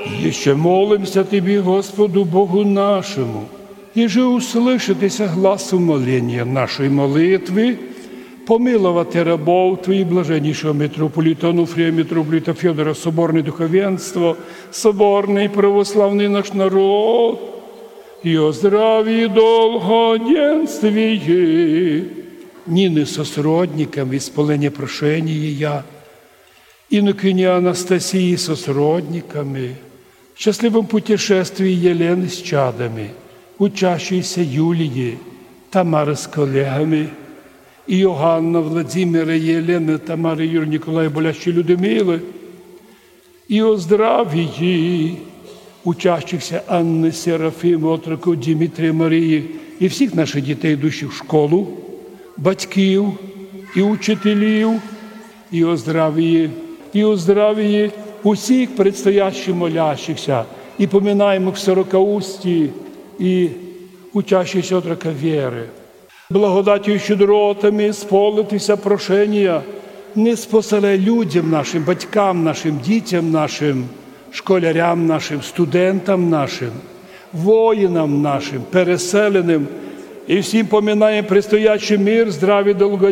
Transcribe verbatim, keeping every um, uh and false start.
Ещё молимся Тобі, Господу Богу нашому, єже услышати ся гласу моления нашої молитвы, помиловати рабов Твоїх, блаженнішого митрополита Онуфрія, митрополита Фьодора, соборне духовенство, соборный православный наш народ, и о здравии долгоденствии. Нины со сродниками исполнение прошения я, инокини Анастасиі со сродниками, в счастливом путешествии Єлены с чадами, учащейся Юлиі, Тамары с колеґами, Иоганна, Владимира, Єлены, Тамары, Юры, Николая, болящей Людмилы, и о здравии учащихся Анны, Серафимы, отроков Димитрия, Марии, и всіх наших дітей, ідущих в школу, батьків и учителів, и о здравии, и о здравии усіх предстоящих молящихся, и поминаємых в Сорокаустї, и учащихся отрока Веры. Благодатью и щедротами исполнити ся прошения, ниспоселяй людям нашим, батькам нашим, дітям нашим, школярям нашим, студентам нашим, воїнам нашим, переселеным, и всім поминаєм предстоящий мир, здраві, долгоденстві.